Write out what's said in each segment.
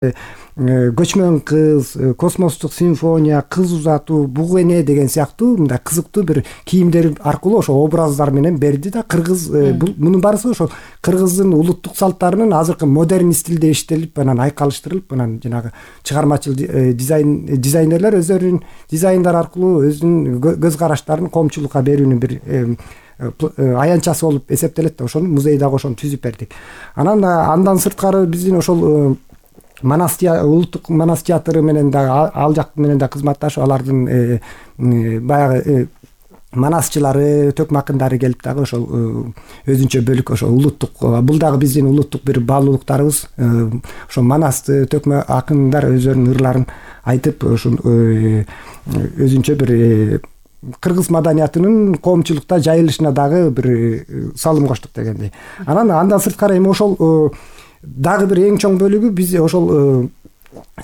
көчмөн кыз, космостук симфония, кыз узатуу, буг эне деген сыяктуу мындай кызыктуу бир кийимдер аркылуу ошо образдар менен берди да. Кыргыз мунун баарысы ошо кыргыздын улуттук салттарынын азыркы модерн стилде иштелип, анан айкалыштырылып, анан жанагы чыгармачыл дизайнерлер өздөрүнүн дизайндары аркылуу өзүнүн көз караштарын коомчулукка берүүнүн бир аянтчасы болуп эсептелет да. Ошону музей дагы ошону түзүп бердик. Андан сырткары биздин ошол улуттук Манас театры менен дагы ал жак менен да кызматташып, алардын баягы манасчылары, төкмө акындары келип дагы ошол өзүнчө бөлүк ошо улуттук, бул дагы биздин улуттук бир баалуулуктарыбыз. Ошо манасты төкмө акындар өздөрүнүн ырларын айтып, ошо өзүнчө бир кыргыз маданиятынын коомчулукта жайылышына дагы бир салым коштук дегендей. Андан сырткары эми ошол дагы бир эң чоң бөлүгү биз ошол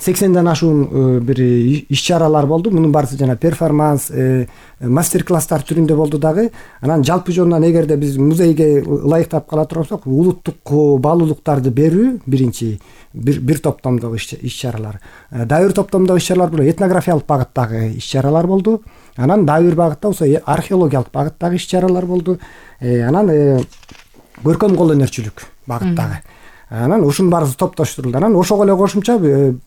80ден ашуун бир иш-чаралар болду. Мунун баарысы жана перформанс, мастер-класстар түрүндө болду дагы. Анан жалпы жонунан эгерде биз музейге ылайыктап кала турсак, улуттук баалуулуктарды берүү биринчи бир топтомдогу иш-чаралар. Дагы бир топтомдогу иш-чаралар бул этнографиялык багыттагы иш-чаралар болду. Анан дагы бир багытта болсо археологиялык багыттагы иш-чаралар болду. Анан көркөм кол өнөрчүлүк багыттагы. Анан ушунун баары топтоштурулду. Анан ошого эле кошумча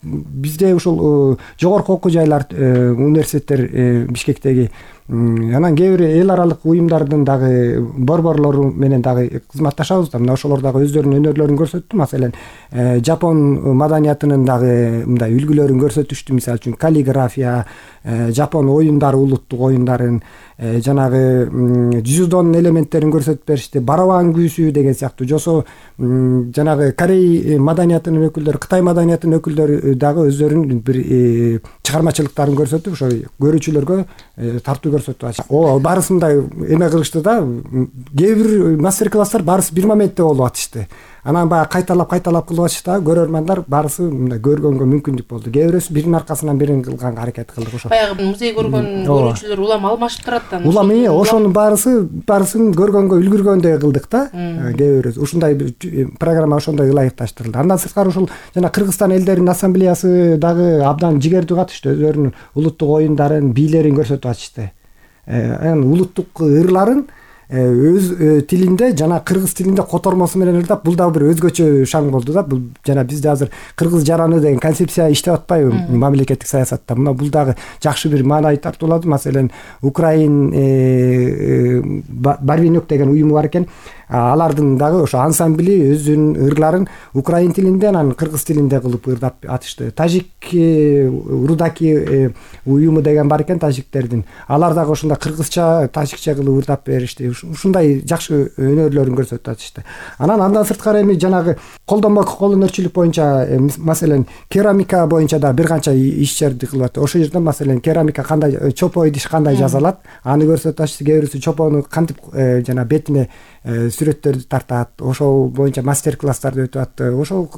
бизде ушул жогорку окуу жайлар, университеттер Бишкектеги, анан кээ бир эл аралык уюмдардын дагы борборлору менен дагы кызматташабыз да. Мына ошолор дагы өздөрүнүн өнөрлөрүн көрсөттү. Маселен, Жапон маданиятынын дагы мындай үлгүлөрүн көрсөтүштү. Мисалы үчүн каллиграфия, Жапон оюндары, улуттук оюндарын, жанагы дзюдонун элементтерин көрсөтүп беришти. Барабан күүсү деген сыяктуу, жосо жанагы Корей маданиятынын өкүлдөрү, Кытай маданиятынын өкүлдөрү дагы өздөрүнүн бир чыгармачылыктарын көрсөтүп, ошо көрүүчүлөргө тартуу көрсөтүп. Баарысы мындай эме кылышты да. Кээ бир мастер-класстар баарысы бир моментте болуп атышты. Анан баягы кайталап кылып атышты. Көрөрмандар баарысы мындай көргөнгө мүмкүндүк болду. Кээ бирөөсү биринин аркасынан бирин кылганга аракет кылдык. Ошо баягы музей көргөн көрүүчүлөр улам алмашып турат да. Улам ошонун баарысын көргөнгө үлгүргөндөй кылдык да. Кээ бирөөсү ушундай программа ошондой ылайыкташтырылды. Андан сырткары ушул жана Кыргызстан элдеринин ассамблеясы дагы абдан жигердүү катышты. Өздөрүнүн улуттук оюндарын, бийлерин көрсөтүп атышты. Анан улуттук ырларын өз тилинде жана кыргыз тилинде котормосу менен ырдап, бул дагы бир өзгөчө шаң болду да. Бул жана бизде азыр кыргыз жараны деген концепция иштеп атпайбы мамлекеттик саясатта. Мына бул дагы жакшы бир маанай тартуулады. Маселен, Украин Барвинок деген уюму бар экен. Алардын дагы ошо ансамбли өзүнүн ырларын украин тилинде, анан кыргыз тилинде кылып ырдап атышты. Тажик Рудаки уюму деген бар экен, тажиктердин. Алар дагы ошондой кыргызча, тажикче кылып ырдап беришти. Ушундай жакшы өнөрлөрүн көрсөтүп атышты. Андан сырткары эми жанагы колдонмо кол өнөрчүлүк боюнча, маселен, керамика боюнча да бир канча иш-чараларды кылып атты. Ошол жерде маселен керамика кандай, чопо идиш кандай жасалат, аны көрсөтүп атышты. Кээ бирөөсү чопону кантип жана бетине сүрөттөрдү тартат, ошол боюнча мастер-класстарды өтүп атты. Ошол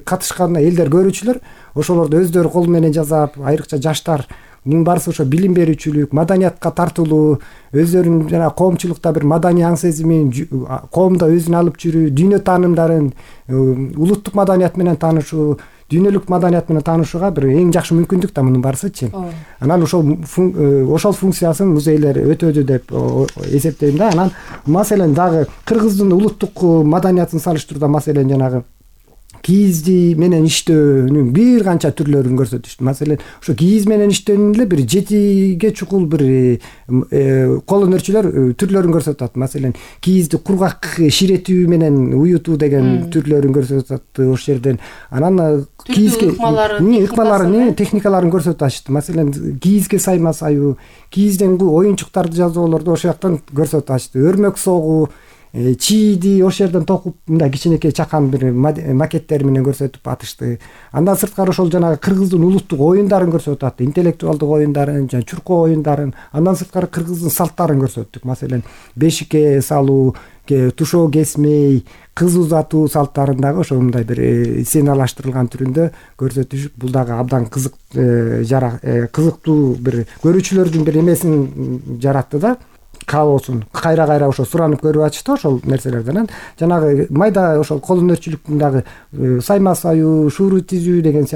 катышкан элдер, көрүүчүлөр ошолорду өздөрү кол менен жасап, айрыкча жаштар, мунун баарысы ошо билим берүүчүлүк, маданиятка тартылуу, өздөрүнүн жана коомчулукта бир маданий аң сезимин, коомдо өзүн алып жүрүү, дүйнө таанымдарын, улуттук маданият менен таанышуу, дүйнөлүк маданият менен таанышууга бир эң жакшы мүмкүндүк да мунун баарысычы. Анан ошол функциясын музейлер өтөдү деп эсептейм да. Анан маселен дагы кыргыздын улуттук маданиятын салыштырууда маселен жанагы кийизди менен иштөөнүн бир канча түрлөрүн көрсөтүштү. Маселен, ошо кийиз менен иштөөнүн эле бир 7ге чукул бир кол өнөрчүлөр түрлөрүн көрсөтүп атат. Маселен, кийизди кургак ширетүү менен уютуу деген түрлөрүн көрсөтүп атты ошол жерден. Анан кийизге ыкмаларын, техникаларын көрсөтүп атышты. Маселен, кийизге сайма саюу, кийизден оюнчуктарды жасоолорду ошол жактан көрсөтүп атышты. Өрмөк согуу, чийди ошол жерден токуп мындай кичинекей чакан бир макеттер менен көрсөтүп атышты. Андан сырткары ошол жанагы кыргыздын улуттук оюндарын көрсөтүп атты. Интеллектуалдык оюндарын, жана чуркоо оюндарын, андан сырткары кыргыздын салттарын көрсөттүк. Маселен, бешикке салуу, тушоо кесмей, кыз узатуу салттарын дагы ошондой бир сценалаштырылган түрүндө көрсөтүшүп, бул дагы абдан кызыктуу бир көрүүчүлөрдүн бир эмесин жаратты да. каосун кайра ошо суранып көрүп атышты ошол нерселерден. Анан жанагы майда ошол кол өнөрчүлүктүн дагы сайма саюу, шууру тизүү деген